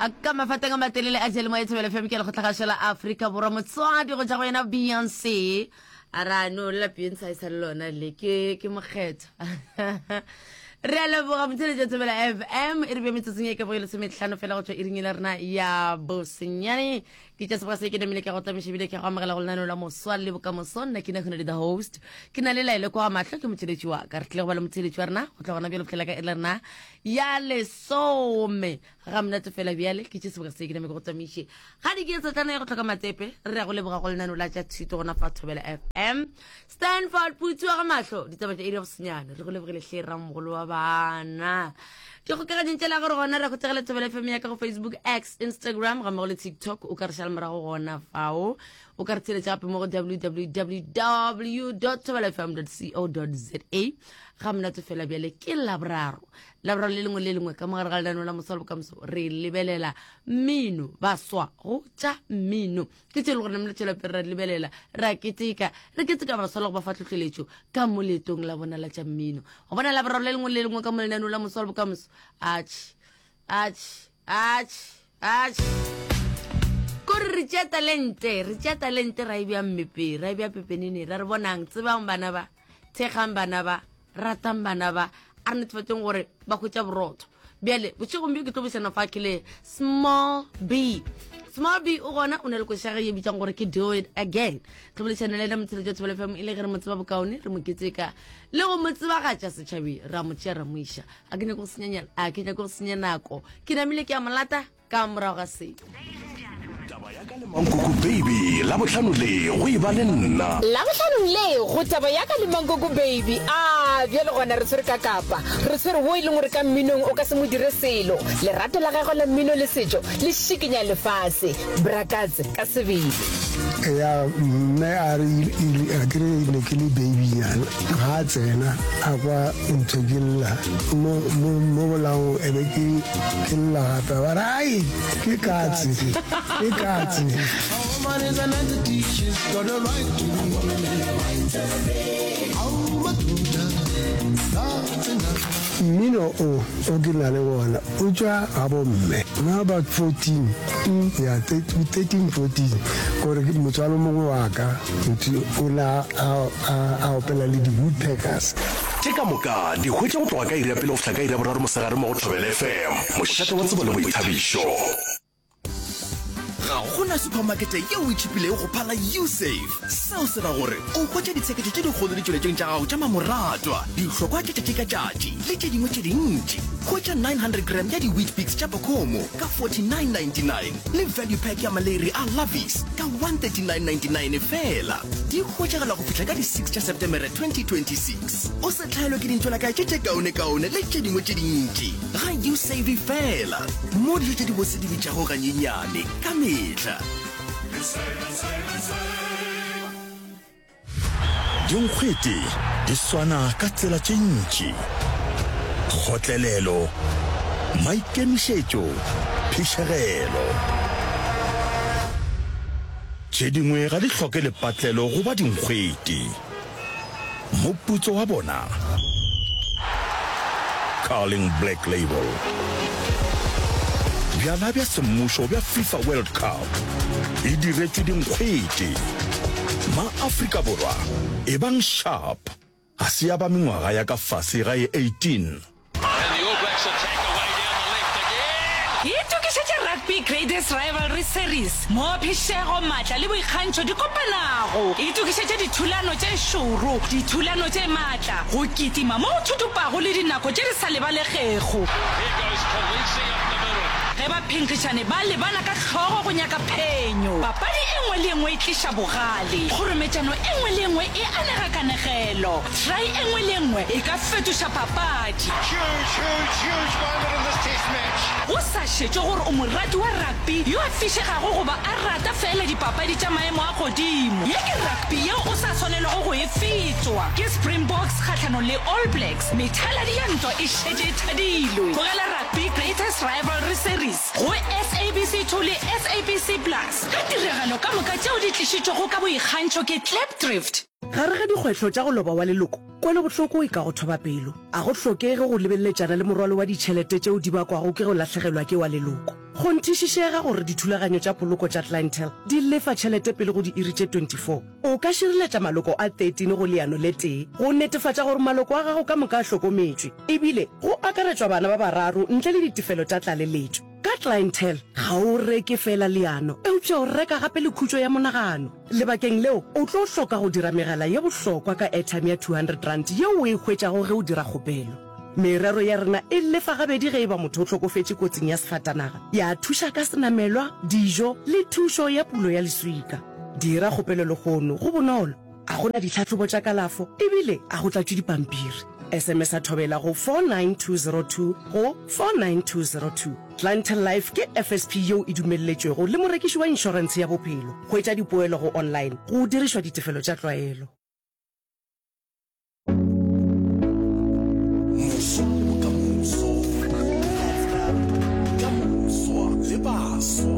Ka mafateng a matelele a jele moya Thobela FM ke lekgotlagašo la Afrika Borwa motswadi go tša go yena Beyonce a ra no la Beyonce a e sa le lona le ke ke mokgethwa re a leboga motheletša Thobela FM e re be metsotsong e ka boge lesometlhano fela go tšwa iring e la rena ya bosenyane ke tša seboka se ke namile ke go tlamiša ebile ke go amogela go lenaneo la moswa le bokamoso nna ke nagone le the host ke na le laele kwa mahlo ke motheletši wa ka re tlile go ba le motheletši wa rena go tla gona bjalo fihlela ka e la rena ya lesome Ga monate fela bjale ke tše sebaka se ke name ke go tsamiše ga di ke tsetlana ya go tlhoka matsepe re ya go leboga go lenano la tša thuto gona fa Thobela FM Stanford Putsi wa ga mahlo ditaba tša iri ya bosenyane re go lebogile hle ramogolo wa bana dikgokaganyong tša la gore gona re go tsegela Thobela FM ya ka go Facebook X Instagram ga mmogo le TikTok o ka re šala morago gona fao o ka re tsheletša gape mo go www thobelafm co za ga monate fela bjale ke laboraro Laboraro le lengwe le lengwe ka mogare ga lenaneo la Moswa le Bokamoso re lebelela mmino, baswa go tša mmino. Ke tše e le gore namile tšwela pele ra di lebelela, ra keteka, re keteka baswa le go ba fa tlhohleletšo ka mo leetong la bona la tša mmino. Go bona Laboraro le lengwe le lengwe ka mo lenaneo la Moswa le Bokamoso, atšhe, atšhe, atšhe, atšhe. Kore re tšea talente, re tšea talente ra e bea mmepeng, ra e bea pepeneneng, ra re bonang, tsebang bana ba. Thekgang bana ba, ratang bana ba, a re netefatšeng gore ba hwetša borotho. Bjale, bošegong bjo ke tlo bušana fa ke le Small B. Small B o gona o na le koša ge ye bitsang gore ke Do It Again. Tlo boledišana le ena motsheletšo Thobela FM e le ge re mo tseba bokaone, re mo keteka le go mo tsebagatša setšhabeng, ra mo tšea ra mo iša. A ke nyake go senya, a ke nyake go senya nako. Ke namile ke a mo lata. Ka morago ga se. Taba ya ka le Mankoko Baby, Labohlano le go e ba le nna. Labohlanong le go Taba ya ka le Mankoko Baby. A bjale gona re tshwere ka kapa. Re tshwere wo e leng gore ka mminong o ka se mo dire selo. Lerato la gagwe la mmino le setšo le šikinya lefase. Bra Katse ka sebele. Ya mme a re a ke re ne ke le babynyana ga a tsena a kwa ntho ke lla mo mo mo bolaong e be ke ke lla gape ba re ai ke katse ke katse. Mmino o o ke na le wona o tšwa ga bomme na about 14 ya 13 14 gore motswalo mongwe wa ka o ne a opela le di-woodpeckers. Tše ka moka di hwetša go tloga ka iri ya pele go fihla ka iri ya boraro mosegare mo go Thobela FM, mošate wa tsebo le boithabišo. Ga go na suphamakete yeo e tšhipilego go phala Usave. Seo se ra gore o hwetša ditsheketšo tše dikgolo ditšweletšong tša gago tša mamoratwa, dihlokwa tša tšatši ka tšatši le tše dingwe tše dintši. Hwetša 900 gram ya di-Weet-Bix tša Bokomo ka 49.99 le value pack ya maleiri a Lovies ka 139.99 feela. Di hwetšagala go fihla ka di 6 tša Setemere 2026. O se hlaelwe ke dintšwelakae tše tše kaonekaone le tše dingwe tše dintši ga Usave feela, mo dijo tše dibose di bitšago ganyenyane ka mehla. Dinkgwete di swana ka tsela tše ntši, kgotlelelo, maikemišetšo, phišegelo. Tše dingwe ga di hloke lepatlelo go ba dinkgwete. Moputso wa bona? Carling Black Label. Bjala bja semmušo bja FIFA World Cup e diretšwe dinkgwete. Ma-Afrika Borwa, ebang sharp! Ga se ya ba mengwaga ya ka fase ga e 18. Itokišetše Rugby Greatest Rivalry Series, moo phišego, maatla le boikgantšho di kopanago. Itokišetše dithulano tše šoro, dithulano tše maatla, go kitima mo go thuthupago le dinako tše di sa lebalegego. Ge baphenkgišani ba lebana ka hlogo go nyaka phenyo, papadi e nngwe le e nngwe e tliša bogale, kgorometšano e nngwe le e nngwe e anega kanegelo. Try e nngwe le e nngwe e ka fetoša papadi. Go sa šetšwe gore o morati wa rugby yo a fišegago goba a rata feela dipapadi tša maemo a godimo, ye ke rugby yeo o sa swanelwago go e fetwa. Ke Springboks kgahlanong le All Blacks, methaladi ya ntwa e šetše e thadilwe. Bogela Rugby Greatest Rivalry Series go SABC 2 le SABC Plus ka tiragalo ka moka tšeo di tlišitšwego ka boikgantšho ke Klipdrift. Gare ga dikgwetlho tša go loba wa leloko, kwelobohloko e ka go thoba pelo. A go hlokege go lebeletšana le morwalo wa ditšhelete tšeo di bakwago ke go lahlegelwa ke wa leloko. Kgonthišišega gore dithulaganyo tša poloko tša Clientele di lefa tšhelete pele go diiri tše 24. O ka šireletša maloko a 13 go leano le tee go netefatša gore maloko a gago ka moka a hlokometšwe, ebile go akaretšwa bana ba bararo ntle le ditefelo tša tlaleletšo. Ka Clientele, ga o reke feela leano, eupša o reka gape le khutšo ya monagano. Lebakeng leo, o tlo hloka go dira megala ye bohlokwa ka airtime ya R200 yeo o e hwetšago ge o dira kgopelo. Merero ya rena e lefa gabedi ge e ba motho o hlokofetše kotsing ya sefatanaga, ya thuša ka senamelwa, dijo le thušo ya pulo ya leswika. Dira kgopelo lehono, go bonolo, a go na ditlhahlobo tša kalafo ebile a go tlatšwe dipampiri. SMS-a Thobela go 49202 go 49202. Clientele Life ke FSP yeo e dumelletšwego le morekiši wa inšorentshe ya bophelo. Hwetša dipoelo go online go dirišwa ditefelo tša tlwaelo. Moswa le bokamoso. Ka moswa le baswa.